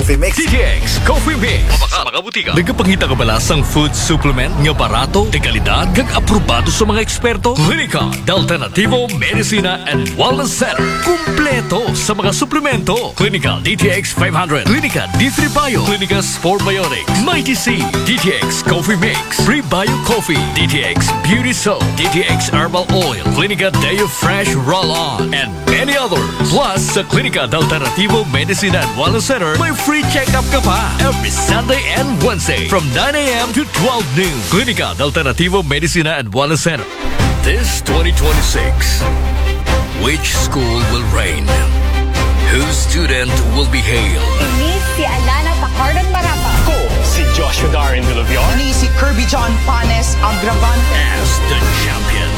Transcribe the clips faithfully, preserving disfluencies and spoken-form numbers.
Coffee Mix. D T X Coffee Mix. Sa mga butika. Nagapangita ka ba sa food supplement nga barato, de kalidad, kag aprobado sa mga eksperto? Klinika de Alternativo Medicina and Wellness Center. Kumpleto sa mga suplemento. Klinika D T X five hundred, Klinika D three Bio, Klinika Sport Biotics, Mighty C, D T X Coffee Mix, Prebio Coffee, D T X Beauty Soap, D T X Herbal Oil, Klinika Deo Fresh Roll-On, and many others. Plus, sa Klinika de Alternativo Medicina and Wellness Center, may free check-up ka pa every Sunday and Wednesday from nine a.m. to twelve noon. Klinika de Alternativo Medicina and Wellness Center. This twenty twenty-six, which school will reign? Whose student will be hailed? Ini si Alana Pacardon Marapa. Ko si Joshua Darren Villavior. Ini si Kirby John Panes Agravan. As the champion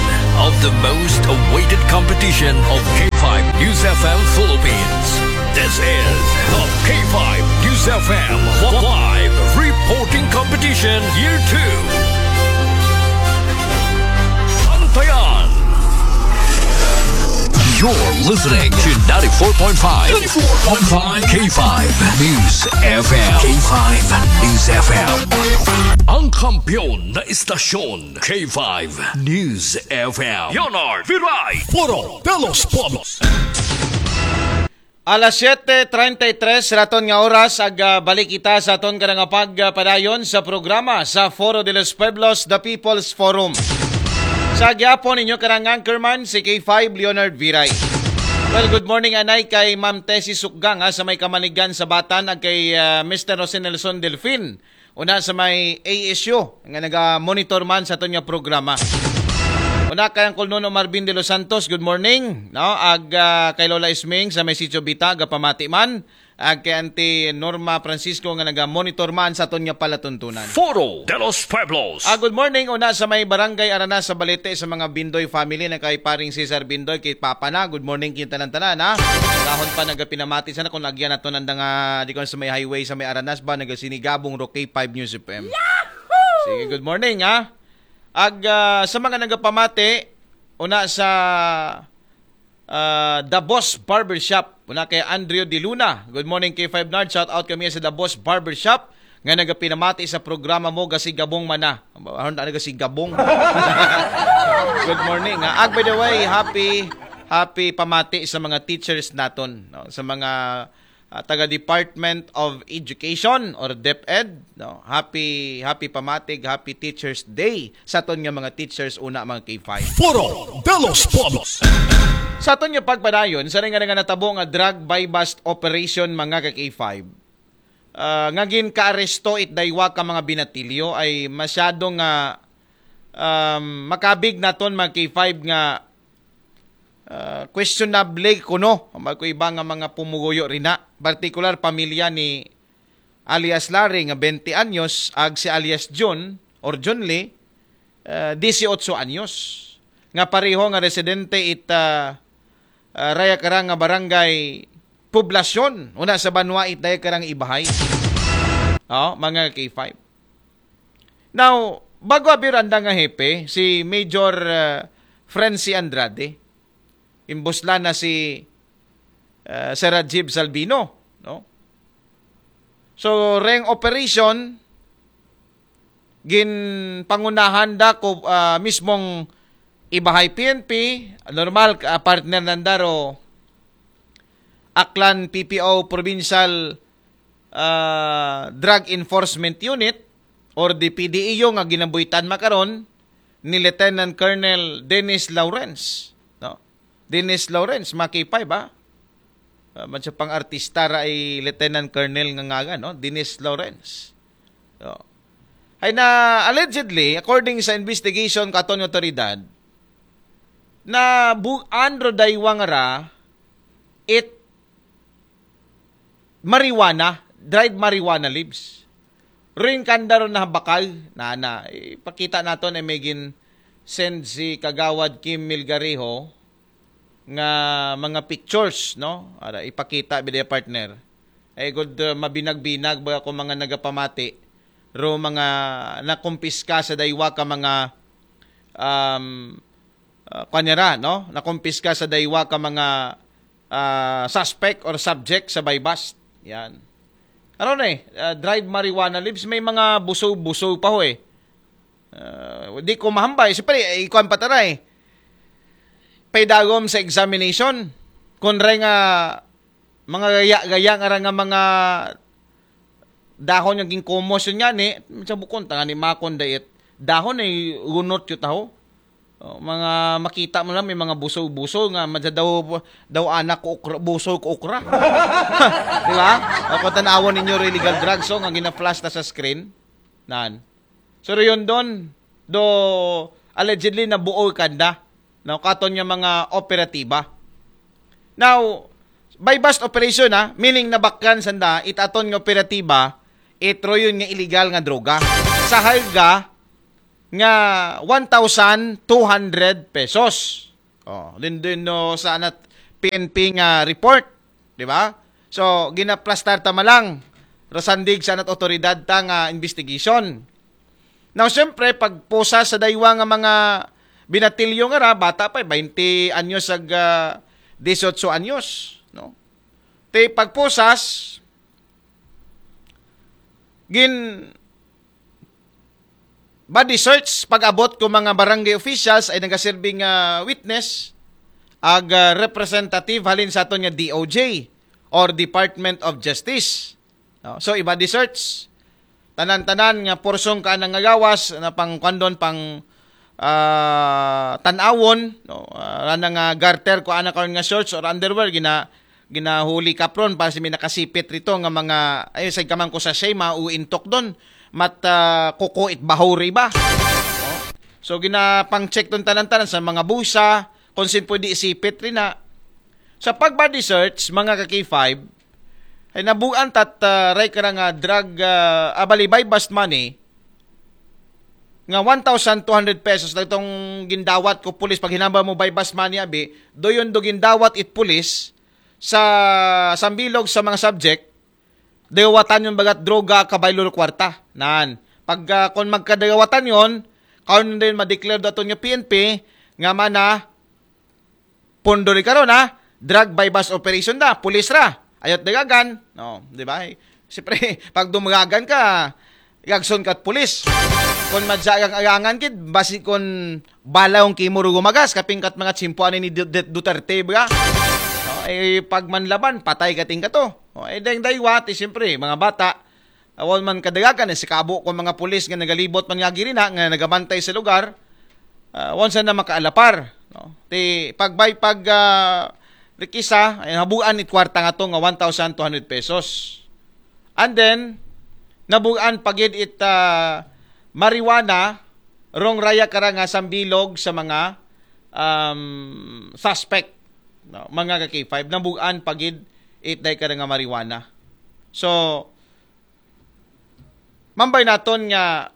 of the most awaited competition of K five News F M Philippines. This is the K five News F M Live Reporting Competition Year two. Bantayan. You're listening to ninety-four point five, ninety-four point five K five News F M. K five News F M. Ang kampiyon na istasyon, K five News F M. Leonard Viray. Foro de los Pueblos. Alas siyete treinta y tres raton nga oras, ag ah, balik kita sa aton karang pagpadayon sa programa sa Foro de los Pueblos, The People's Forum. Sa gyapon ninyo karang anchorman, si K five Leonard Viray. Well, good morning anay kay Ma'am Tessie Sukgang, ha, sa may Kamaligan sa Batan, ag kay ah, Mister Jose Nelson Delfin, una sa may A S U, nga naga-monitor man sa aton nga programa. Una kay Uncle Nono Marvin de los Santos, good morning, no? Ag ah, kay Lola Isming sa may Sitio Bita, gapamati man. Ag kay Auntie Norma Francisco nga naga-monitor man sa aton nga palatuntunan. Foro de los Pueblos. Ah, good morning. Una sa may Barangay Aranas sa Balete, sa mga Bindoy family, na kay paring Cesar Bindoy, kay Papa na. Good morning kayong tanan-tanan, ha. Dahon pa nagapinamati sana kung agyan nato nanda nga di ko sa may highway sa may Aranas ba, nagasinigabong ro K five News F M. Sige, good morning, ha. Ag ah, sa mga nagapamati, una sa ah, The Boss Barbershop, una kay Andrew De Luna. Good morning, K five Nard. Shout out kami sa The Boss Barbershop nga nagapinamati sa programa mo, gasigabong mana. Aron na gasigabong. Good morning, ha. Ag, by the way, happy happy pamati sa mga teachers naton, no? Sa mga ah, taga Department of Education or DepEd, no? Happy happy pamatig, happy Teachers Day sa aton nga mga teachers una, mga K five. Foro de los Pueblos. Sa aton nga pagpadayon, sa nga nga natabo nga drug buy-bust operation, mga ka K five, ah, nga ginkaaresto it daywa ka mga binatilyo, ay masyado nga um, makabig naton, mga K five, nga ah, questionable kuno, magkuiba nga mga pumuguyo rina, partikular pamilya ni alias Larry nga twenty anyos, ag si alias Jun or Jun Lee, ah, dieciocho anyos, nga pareho nga residente it ah, ah, raya karang nga barangay Poblasyon, una sa banwa it daya karang ibahay. Oh, mga K five. Now, bago abir anda nga hepe, si Major ah, Frenzy Andrade, imbuslan na si ah, Sir Rajiv Salvino, no? So, reng operation, ginpangunahan da ko ah, mismong ibahay P N P, normal, ah, partner nanda ro Aklan P P O Provincial ah, Drug Enforcement Unit or the P D E U nga ginabuhitan makaron ni Lieutenant Colonel Dennis Lawrence, no? Dennis Lawrence, mga K five, ha? Ah, man siya pang artista ra ay Lieutenant Colonel nga ngagan, no? Dennis Lawrence. So, ay na, allegedly, according sa investigation katon nga otoridad, na bu-, andro daywang ra it marijuana, dried marijuana leaves. Ring kanda ron na bakal, na, na, ipakita nato na may gin send si Kagawad Kim Milgarejo nga mga pictures, no? Ara, ipakita, bida, partner. Ay, good, uh, mabinag-binag ba ako mga nagapamati? Ro mga nakumpiska sa daywa ka mga, um, uh, kanyara, no? Nakumpiska sa daywa ka mga ah, suspect or subject sa buy-bust. Yan. Ano na eh, ah, dried marijuana leaves, may mga buso-buso pa ho eh. Ah, di ko mahambay. Siyempre, eh, ikuan pa tara eh. Paidagom sa examination. Kung ray nga mga gaya-gaya nga ra nga mga dahon nga ginkumos yun nga ni, sa bukon, tanga ni makon dait. Dahon ay gunot yun taho. Oh, mga makita mo lang, may mga buso-buso nga madya daw, daw anak ko okra, buso ko okra. Di ba? O kung tanawon ninyo illegal drugs, so nga gina-flash ta sa screen. Nan. So, yun doon, do allegedly nabuo kanda, no, katon nga mga operatiba. Now, buy-bust operation, ha, meaning nabakyan sanda, itaton nga operatiba, itro yun nga illegal nga droga. Sa halga nga one thousand two hundred pesos. Oh, din din no sa anat P N P nga report, di ba? So, ginaplastar ta malang rasandig sa anat otoridad ta nga investigation. Now, siyempre, pagpusa sa daywa nga mga binatilyo nga ra, bata pa, twenty anyos ag ah, eighteen anyos, no? Te pagpusas, gin body search, pag-abot ko mga barangay officials ay nagaserbi nga witness, ag ah, representative halin sa aton nga D O J or Department of Justice. No? So, i-body search. Tanan-tanan nga porsyon ka nga gawas na pang kandon, pang ah, tanawon, no? Ah, rana nga garter ko ana karon nga shorts or underwear gina ginahuli kapron para sa may nakasipit rito nga mga ay sa kamang ko sa shay mauintok doon mat ah, kuko it bahuri ba, no? So ginapang check doon tanan-tanan sa mga busa kung sin pwede isipit rin na sa pag body search mga ka K five ay nabuan tat ah, ray ka nga drug ah, abali buy bust money nga one thousand two hundred pesos na itong gindawat ko pulis pag hinamba mo buy bust money abi doyon do gindawat it pulis sa sambilog sa mga subject dawatan yung bagat droga kabaylo kwarta nan pag uh, kung magkadawatan yon karon din ma-declare daton nga P N P nga mana pondo rin karon ha drug buy bust operation da pulis ra ayot dagagan no di ba siyempre pag dumagagan ka gagson kat pulis kon madyagang agangan kid basi kon balaw ang kimo ro gumagas kaping kat mga tsimpo ani ni Duterte ba no eh pag manlaban patay kating kato oh, eh dayng daywat eh siyempre mga bata Awan man kadagagan eh, si kabo ko mga pulis nga nagalibot man nga girina nga nagabantay sa lugar, uh, awan sa na makaalapar. No? Ti pagbay pag uh, rikisa, ay habuan it kwarta nga to nga one thousand two hundred pesos. And then, nabuan pagid it uh, marijuana, rong raya kara nga sambilog sa mga um, suspect. No? Mga ka K five, nabuan pagid it day kara nga marijuana. So, Mambay naton nga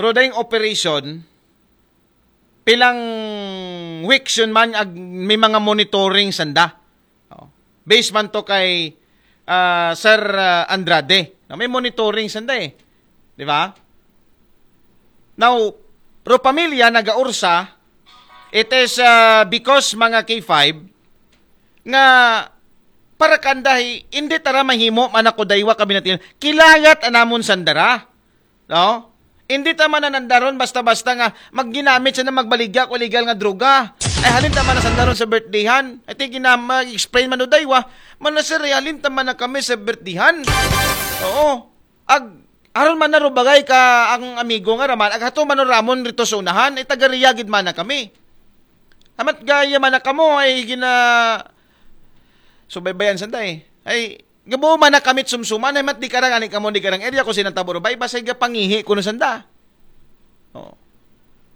rodayng operation pilang weeks yun man ag may mga monitoring sanda. Oh. Based man to kay uh, Sir uh, Andrade. No, may monitoring sanda eh. Di ba? Now, ro pamilya nagaursa, it is uh, because mga K five, nga para kandahi, hindi tara mahimo man ako daywa kami natin. Kilayat anamon sandara. No? Hindi ta man nandaron basta-basta nga magginamit siya na magbaligya ko illegal nga droga. Ay halin ta man sandaron sa birthdayhan. Ay ti ginama explain man daywa. Mana sir, ay halin ta man na kami sa birthdayhan. Oo. Ag aron man na rubagay ka ang amigo nga raman ag hato man ramon rito sa unahan ay taga Riyagid man na kami. Amat gaya man na kamo ay gina subaybayan sanda eh. Ay gabo man na kamit sumsuman ay mat di karang ani kamo di karang area ko sinang tabo rubay basay ga pangihi kuno sanda. Oh.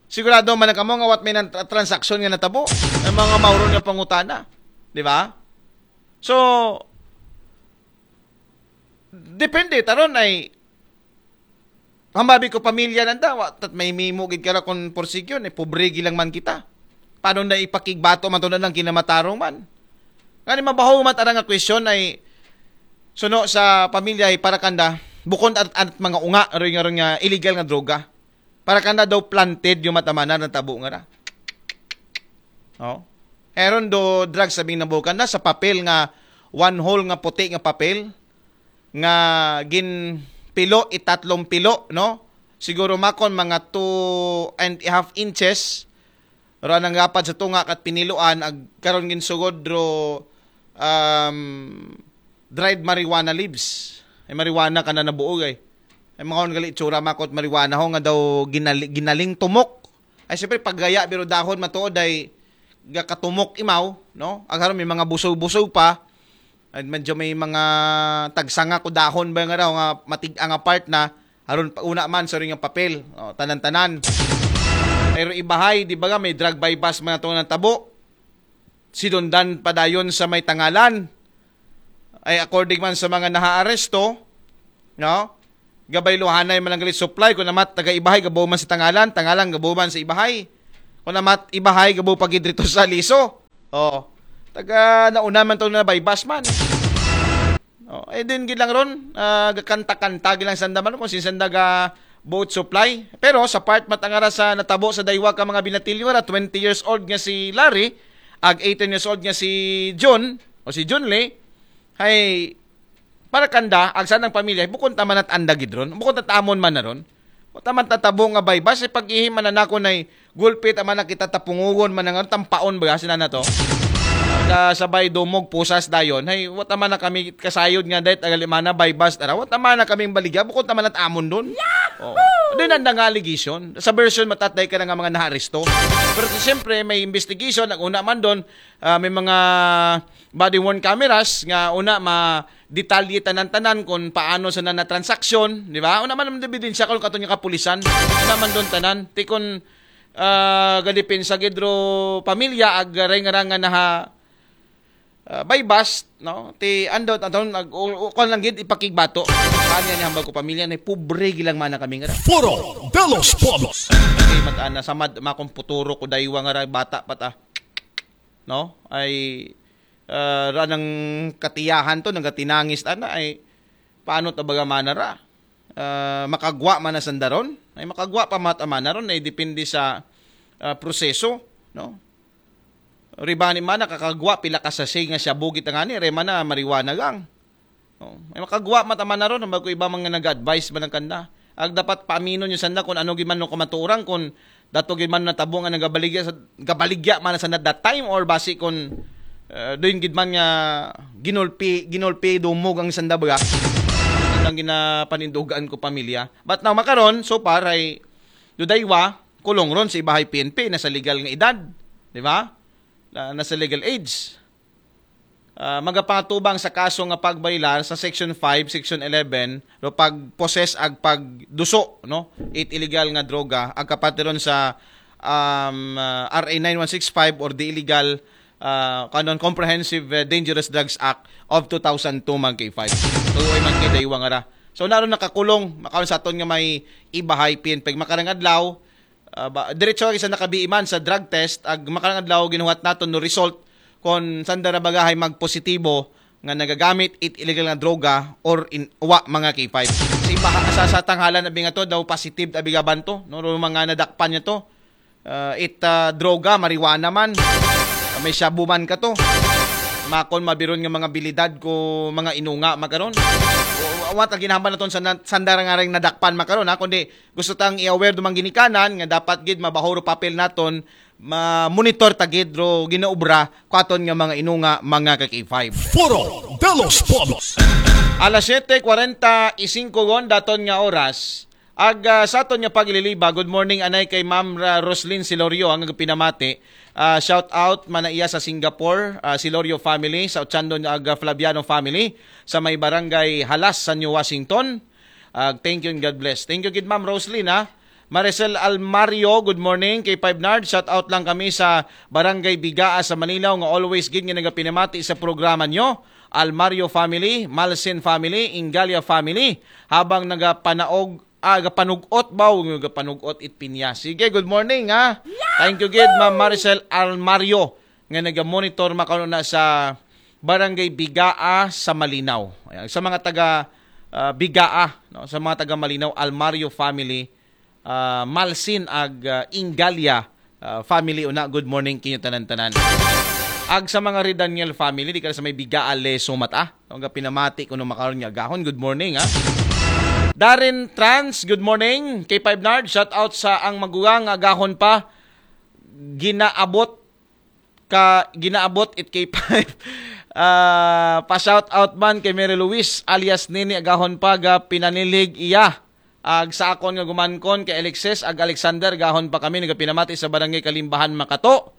Sigurado man na kamo nga wat may nan transaksyon nga natabo. Ang mga mauron nga pangutana. Di ba? So, depende taron ay hambabi ko pamilya nanda wa tat may mimo gid kara kon porsegyo ni pobre gilang man kita. Paano na ipakigbato man to na lang kinamatarong man? Ngani mabaho man tara nga question ay suno sa pamilya ay para kanda bukon at, at mga unga rin nga rin nga illegal nga droga. Para kanda daw planted yung matamanan ng tabo nga ra. Oh. Eron do drugs sabing nabukan na sa papel nga one whole nga puti nga papel nga ginpilo itatlong pilo, no? Siguro makon mga two and a half inches. Pero anang gapad sa tunga kat piniluan, ag karon ginsugod ro, um, dried marijuana leaves. Ay marijuana ka na nabuog ay. Ay mga gali tsura makot marijuana ho nga daw ginali, ginaling tumok. Ay siyempre paggaya pero dahon matuod ay gakatumok imaw, no? Ag haron may mga busog-busog pa. Ay medyo may mga tagsanga ko dahon ba nga raw nga matig-a nga part na haron pa una man sa ring papel. O, tanan-tanan. Pero ibahay, di ba nga may drug buy-bust man atong natabo? Sinundan padayon sa may tangalan. Ay according man sa mga nahaaresto, no? Gabay luhanay man ang galit supply kung namat taga ibahay gabo man sa tangalan, tangalan gabo man sa ibahay. Kung namat ibahay gabo pagid rito sa liso. Oh. Taga nauna man to na buy-bust man. Oh, eh din gid lang ron, ah, gakanta-kanta gid lang sanda man kung sinsanda ga boat supply. Pero sa part matangara sa natabo sa daywa ka mga binatilyo ra, twenty years old nga si Larry, ag eighteen years old nga si John o si John Lee, hay para kanda, ag sanang pamilya, bukon taman at anda gid ron, bukon tatamon man na ron. O taman tatabo nga buy-bust, eh, pag-ihim man na nako na'y gulpit, ama na kita tapungugon man na nga, tampaon ba, sila na to? Kasabay dumog pusas dayon. Hey, what naman na kami kasayod nga dahil agalimana buy-bust, ara, what naman na kaming baligya, bukod naman at amon dun. Oh. Doon ang nga allegation. Sa version matatay ka na nga mga naaresto. Pero siyempre, may investigation, ang una man doon, ah, may mga body worn cameras nga una ma detalye tanan-tanan kung paano sa na transaksyon, di ba? Una man ang ebidensya kung kato niya kapulisan. Una man doon tanan. Ti kung ah, galipensa gid ro pamilya ag reng-rang nga naha ah, buy-bust, no? Ti andot aton ag u- u- kuwan lang gid ipakigbato. Kanya ni hambal ko pamilya na pobre gilang mana kami nga. Foro de los Pueblos. Kay matana sa mad makomputuro ko daywa nga ra bata pa ta. No? Ay ah, ra nang katiyahan to, nagatinangis ana ay paano ta baga manara? Ah, makagwa man na sandaron? Ay makagwa pa mat amana ron ay depende sa ah, proseso, no? Ribani man nakakagwa pila ka sachet nga shabu gid ngani, re man na marijuana gang. Oh, ay makagwa mat amana ron, ang bago iba mga nag-advise man ang kanda. Ag dapat paaminon yung sanda kung ano gid man no kamatuoran, kung dato gid man natabo nga nagabaligya sa gabaligya man sa that time or basi kung uh, doon gid man nga ginulpi ginulpi dumog ang sanda baga ang ginapanindugan ko pamilya. But now makaron so far ay dudaywa kulong ron sa ibahay P N P na sa legal nga edad, di ba? Na, na sa legal age. Ah, magapatubang sa kaso nga pagbaylar sa Section five, Section eleven, no, pag-possess ag pagduso, no, it illegal nga droga, ag kapatiron sa um, ah, R A nine one six five or the illegal ah, kanon Comprehensive eh, Dangerous Drugs Act of two thousand two man kay five. Tuloy man kay daywa nga ra. So naron nakakulong, makaon sa aton nga may ibahay P N P makarang adlaw, ah, ba, diretso sa nakabiiman sa drug test, ag makarang adlaw ginuhat naton no result kon sanda ra bagahay magpositibo nga nagagamit it illegal nga droga or in wa mga K five. Sa iba sa, sa tanghalan abi nga to daw positive abi gaban to, no, mga nadakpan niya to. Ah, it ah, droga, marijuana man. Ah, may shabu man ka to. Makon mabiron nga mga bilidad ko mga inunga makaron. Wa ta ginahambal naton sa na- sanda ra nga ring nadakpan makaron ha, kundi gusto tang i-aware dumang ginikanan nga dapat gid mabahuro papel naton ma-monitor ta gid ro ginaobra kwaton nga mga inunga mga ka K five. Foro de los Pueblos. Alas siyete kwarenta y singko gon daton nga oras. Ag ah, sa aton nga pagliliba, good morning anay kay Ma'am Ra- Roslyn Silorio ang pinamati. Ah, shout out man na iya sa Singapore, ah, Silorio family, sa Ochandon ag ah, Flaviano family sa may barangay Halas, San Washington. Ag thank you and God bless. Thank you gid Ma'am Roslyn ha. Maricel Almario, good morning kay Five Nard. Shout out lang kami sa Barangay Bigaa sa Manila nga always gid nga nagapinamati sa programa nyo. Almario family, Malsin family, Ingalia family, habang nagapanaog ah, gapanugot ba? Huwag nyo gapanugot it pinya. Sige, good morning ha. Thank you gid Ma'am Maricel Almario nga naga-monitor makauna sa Barangay Bigaa sa Malinaw. Ayan, sa mga taga ah, Bigaa, no, sa mga taga Malinaw, Almario family, ah, Malsin ag ah, Ingalia ah, family una, good morning kinyo tanan-tanan. Ag sa mga Red Daniel family, di ka sa may biga, aleso mata. Ang pinamati ko nung makaroon niya agahon. Good morning, ha? Darren Trans, good morning. K five Nard, shout out sa ang magugang, agahon pa. Ginaabot ka, ginaabot it K five. Ah, pa shout out man kay Mary Luis alias Nini, agahon pa ga pinanilig iya. Ag sa akon nga gumankon kay Alexis ag Alexander, gahon pa kami nagapinamati sa barangay Kalimbahan, Makato.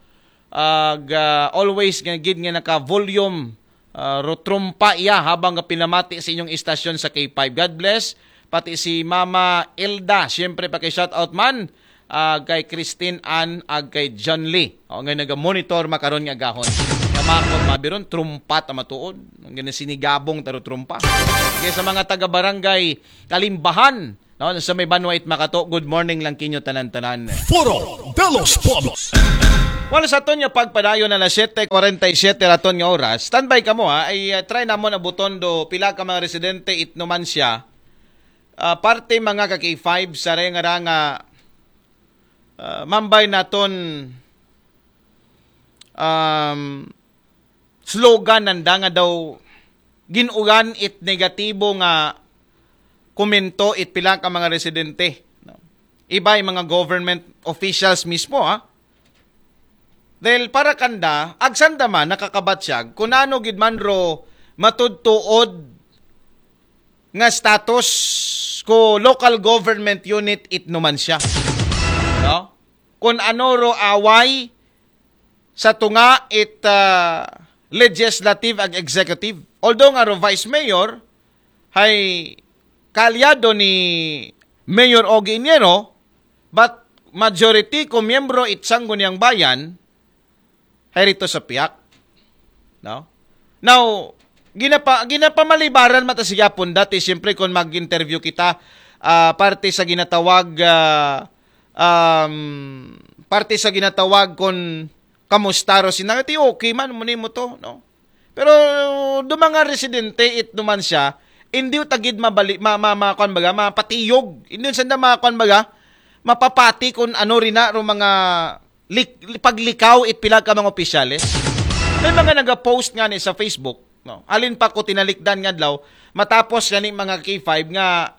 Ag ah, always nga gid nga naka-volume, ah, ro trumpa iya habang nga pinamati sa inyong istasyon sa K five. God bless. Pati si Mama Elda, siyempre pa kay shout out man, ah, kay Christine Ann ag kay John Lee. O, nga naga-monitor makaron nga gahon. Kamakon mabiron, trumpa ta matuod. Ang gina sinigabong taro trumpa. Kaya sa mga taga-barangay Kalimbahan, no, sa may Banwait Makato, good morning lang kinyo tanan-tanan. Foro de los Pueblos. Wala sa aton nga pagpadayon na alas siyete kwarenta y siyete raton nga oras. Standby kamo, ha. Ay uh, try namon abuton do pila ka mga residente it Numancia. Uh, parte mga ka K five sa renga nga uh, mambay naton um, slogan nanda nga daw ginugan it negatibo nga komento it pila ka mga residente, no? Iba yung mga government officials mismo, ha? Dahil para kanda, agsanda man nakakabatyag kung ano gid man ro matudtuod nga status ko local government unit it Numancia, no? Kung ano ro away sa tunga it uh, legislative ag executive. Although nga ro vice mayor, hay kaalyado ni Mayor Ogie Iniero, but majority ko miyembro it Sangguniang Bayan, hay rito sa piyak. No? Now, ginapa, ginapamalibaran mata sigapon dati, siyempre kung mag-interview kita, uh, parte sa ginatawag, uh, um, parte sa ginatawag kung kamusta ro sinangati, okay man, muni mo to, no? Pero do mga residente it Numancia, hindi tagid mabali, ma, ma, ma, kwan baga, mapatiyog. Hindi sanda mga kwan baga, mapapati kung ano rin na ro mga lik, paglikaw it pila ka mga opisyales. May mga nagapost nga ni sa Facebook, no? Alin pa ko tinalikdan nga adlaw, matapos gani mga K five nga,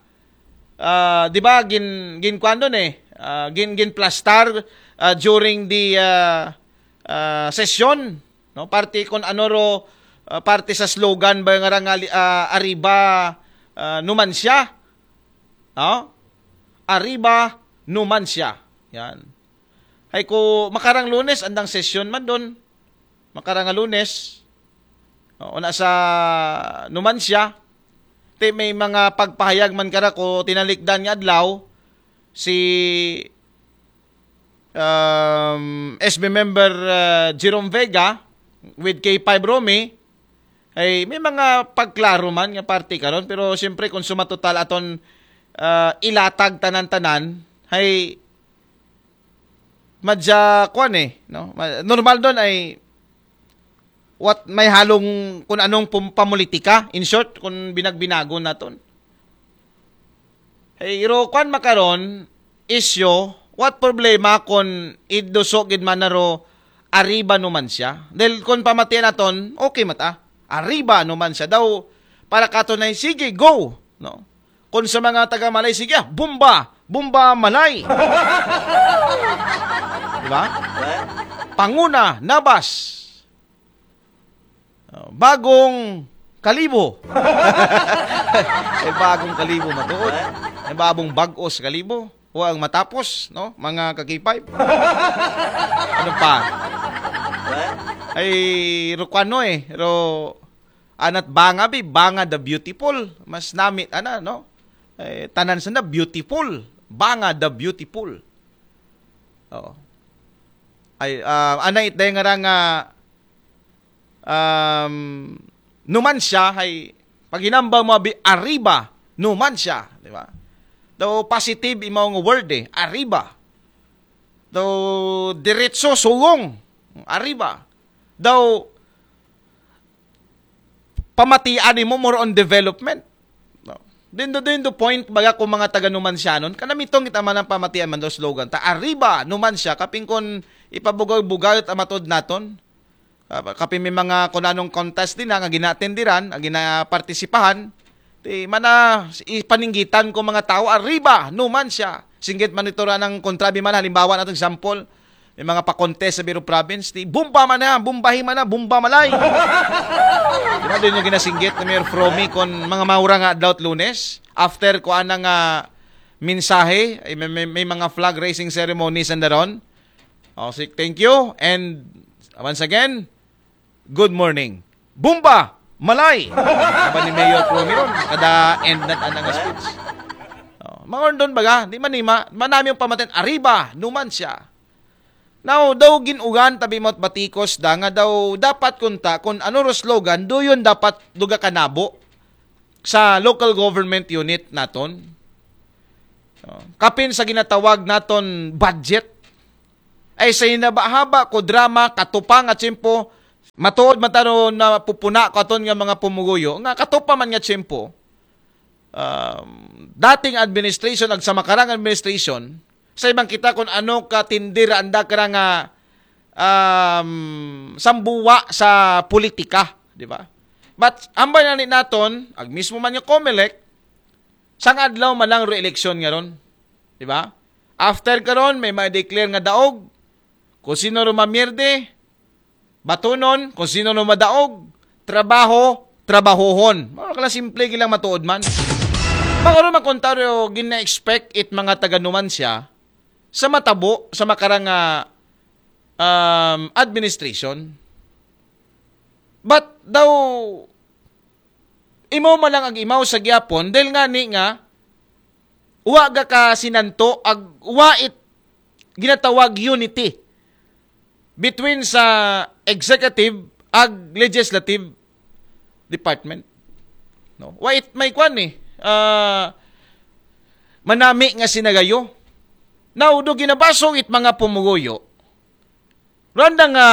ah, di ba, gin, gin kwan doon eh, ah, gin, gin plastar, ah, during the, ah, ah, session, no? Parte kon ano ro, ah, parte sa slogan ba nga rangali, ah, Arriba, ah, Numancia, no? Arriba Numancia. Yan. Hay ko makarang Lunes andang session man doon. Makarang nga Lunes. O, una sa Numancia. Ti may mga pagpahayag man kara ko tinalikdan nga adlaw si um, S B member uh, Jerome Vega with K five Romy, ay may mga pagklaro man nga parte karon, pero siyempre kung sumatotal aton uh, ilatag tanan-tanan, ay madya kwan eh, no? Normal doon ay what may halong kung anong pum- pamulitika, in short, kung binagbinago naton. Hey, iro kwan makaron, isyo, what problema kung iduso gid man naro Arriba Numancia? Dahil kung pamatian naton, okay mata. Arriba Numancia daw, para kato na sige, go, no? Kung sa mga taga Malay, sige, ah, bomba, bomba Malay. Diba? Panguna, Nabas. Oh, bagong kalibo. Ay bagong kalibo matuod. Ay bagong bagos kalibo. O ang matapos, no? Mga ka-K five. Ano pa? Ay rukwano eh. Ro anat banga bi, banga the beautiful. Mas namit ana, no? Eh, tanan sa na beautiful. Banga the beautiful. Oo. Ay uh, ana it day nga nga um, Numancia, hay paghinambal mo abi Arriba Numancia, di ba? Daw positive imaw nga word eh, Arriba. Daw diretso sugong, Arriba. Daw pamatian mo more on development. No? Dindo dindo point baga ko mga taga Numancianon, kanamitong kita man ang pamatian man daw slogan ta Arriba Numancia, kaping kon ipabugaw-bugaw ta matod naton. Ah, kapin may mga kun anong contest din nga ginatendiran, nga ginapartisipahan, ti mana ipaninggitan ko mga tao, "Arriba, Numancia." Singgit man ito ra ng kontrabi man, halimbawa natin example, may mga pa-contest sa Biro Province, ti, "Bomba man na, bombahi man na, bomba malay." Di ba, doon yung ginasinggit ni Mayor Fromy kung mga maura nga adlaw at Lunes, after ko anang ah, mensahe, ay may, may, may mga flag raising ceremonies and daron. Oh, si, thank you. And once again, good morning. Bomba! Malay! Aba ni Mayor Fromy ron, kada end na anang speech. Oh, mga doon baga, di man ima, manami yung pamatin, "Arriba, Numancia." Now, daw ginugan, tabi mo't batikos da, nga daw dapat kunta, kung ano ro slogan, do yun dapat duga kanabo sa local government unit naton. Oh, kapin sa ginatawag naton budget, ay sa hinaba-haba ko drama, katupa nga tiyempo, matuod man tano na pupuna ko aton nga mga pumuguyo, nga katupa man nga tiyempo, um, dating administration ag sa makarang administration, sa ibang kita kung ano ka tindir anda kara nga um, sambuwa sa politika, di ba? But ambay na ni naton, ag mismo man yung Comelec, sang adlaw man lang re-election nga ron, di ba? After karon, may ma-declare nga daog, kung sino ro mamierde, batunon, kung sino ro madaog, trabaho, trabahohon. Mga kala simple gilang matuod man. Mga ron makontaryo, gina-expect it mga taga-Numancia sa matabo, sa makarang ah, um, administration. But daw, imaw man lang ag imaw sa gyapon, dahil nga ni nga, wa ga ka sinanto, ag wa it ginatawag unity between sa executive ag legislative department. No? Wa it may kwan eh. Ah, manami nga sinagayo. Now, do ginabasog it mga pumuguyo, randa nga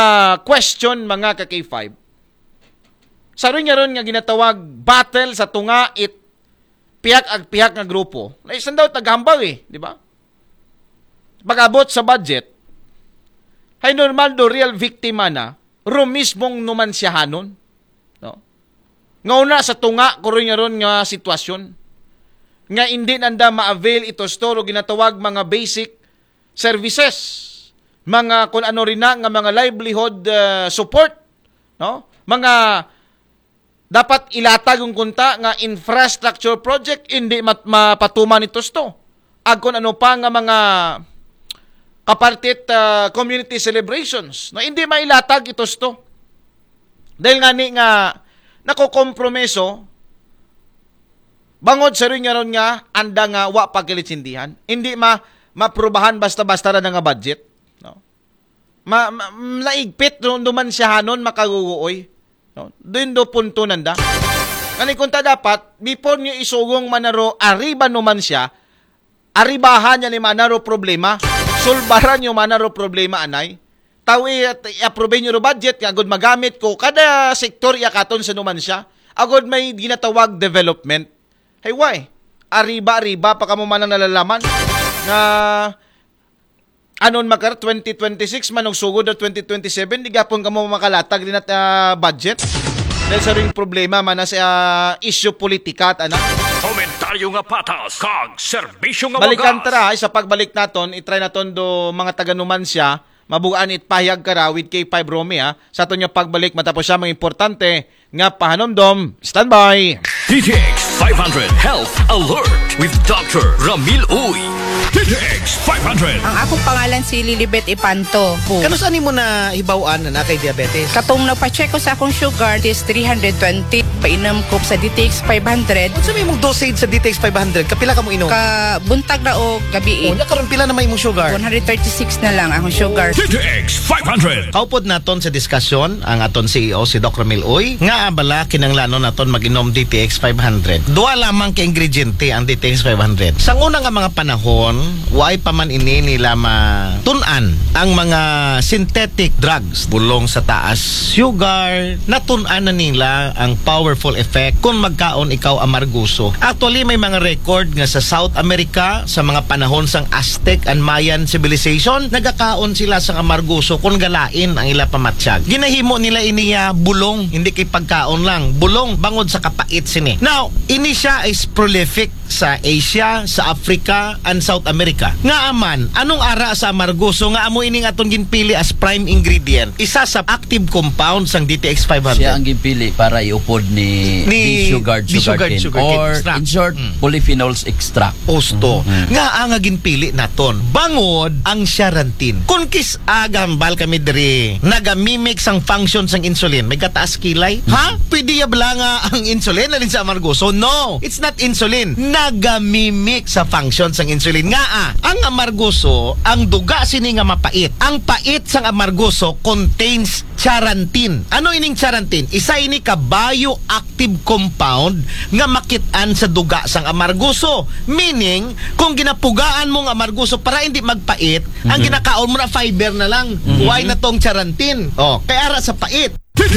question, mga ka K five. Sa rin nga ron nga ginatawag battle sa tunga it pihak ag pihak nga grupo. Na isang daw taghambag eh, di ba? Pag-abot sa budget, hay normal do real victim na, ro mismong Numanciahanon. No? Nga una sa tunga, ko rin nga ron nga sitwasyon. Nga hindi nanda ma-avail ito store o ginatawag mga basic services. Mga kung ano rin na, nga mga livelihood uh, support. No? Mga dapat ilatag yung kunta nga infrastructure project, hindi mat- mapatuman ito sto. Ag kung ano pa nga mga kapartit uh, community celebrations. No? Hindi mailatag ito sto. Dahil nga ni nga nakokompromiso, bangod sa rin nga ron nga anda nga wa pagkalitsindihan. Hindi ma maprubahan basta-basta ra nga budget. No? Ma, ma, laigpit no, Numanciahanon makaguguoy. No? Doon do punto nanda. Kani kunta dapat, before nyo isugong manaro, arriba Numancia, arribahan niya ni manaro problema. Sulbaran nyo manaro problema, anay. Tawi at i-approve nyo ro budget, nga agud magamit ko, kada sektor iyakaton sa Numancia, agud may ginatawag development. Hey, why? Arriba-arriba pa kamo manang nalalaman nga anon makar twenty twenty-six man og sugod na twenty twenty-seven, di gapon kamo makalatag din at ah, budget. Dahil sa ring problema man na sa ah, issue politika at anak. Komentaryo nga patas, kag serbisyo nga Balikan wagas. Tara, ay, sa pagbalik naton, itry naton do mga taga Numancia, mabugaan it pahayag kara with K five Romy, ha. Sa aton nga pagbalik, matapos siya mga importante nga pahanumdom. Standby! D T X five hundred Health Alert with Doctor Ramil Uy. D T X five hundred. Ang akong pangalan si Lilibet Ipanto. Kanus-a nimo nahibaw-an na naa kay diabetes? Katong nagpa-check ko sa akong sugar, it is three hundred twenty. Painom ko sa D T X five hundred. Unsa may imong dosage sa D T X five hundred? Kapila ka mo inom? Ka buntag ra o gabii. O, nya karon pila na may imong sugar? One hundred thirty-six na lang akong sugar. D T X five hundred. Kaupod naton sa diskusyon ang aton C E O, si Doc Ramil Uy, nga abala kinanglanon naton mag-inom D T X five hundred. Duha lamang ka ingrediente ang D T X five hundred. Sa una nga mga panahon, Way pa man ini nila matun-an ang mga synthetic drugs. Bulong sa taas sugar, natun-an na nila ang powerful effect kung magkaon ikaw amarguso. Actually, may mga record nga sa South America, sa mga panahon sang Aztec and Mayan civilization, nagakaon sila sa amarguso kung galain ang ila pamatsyag. Ginahimo nila iniya bulong, hindi kay pagkaon lang. Bulong bangod sa kapait sini. Now, ini siya is prolific sa Asia, sa Africa, and South America. Nga aman, anong ara sa amargoso nga amo ining aton ginpili as prime ingredient? Isa sa active compound sang D T X five hundred. Siya ang ginpili para iupod ni, Ni ni Shugard Di Shugard Sugarcane. Sugarcane Or, extract. in short, Mm. polyphenols extract. Osto. Mhm. Nga ang ginpili naton. Bangod ang charantin. Kung kis agambal kami diri, nagamimic sang function sang insulin. May kataas kilay. Ha? Pwede ya bala nga ang insulin alin sa amargoso? No, it's not insulin. Nagamimic sa function sang insulin. Nga ah, ang amargoso, ang duga sini nga mapait. Ang pait sang amargoso contains charantin. Ano ining charantin? Isa ini ka bioactive compound nga makit-an sa duga sang amargoso. Meaning, kung ginapugaan mo ang amargoso para hindi magpait, ang ginakaon mo na fiber na lang. Why na tong charantin? Oh, kay ara sa pait.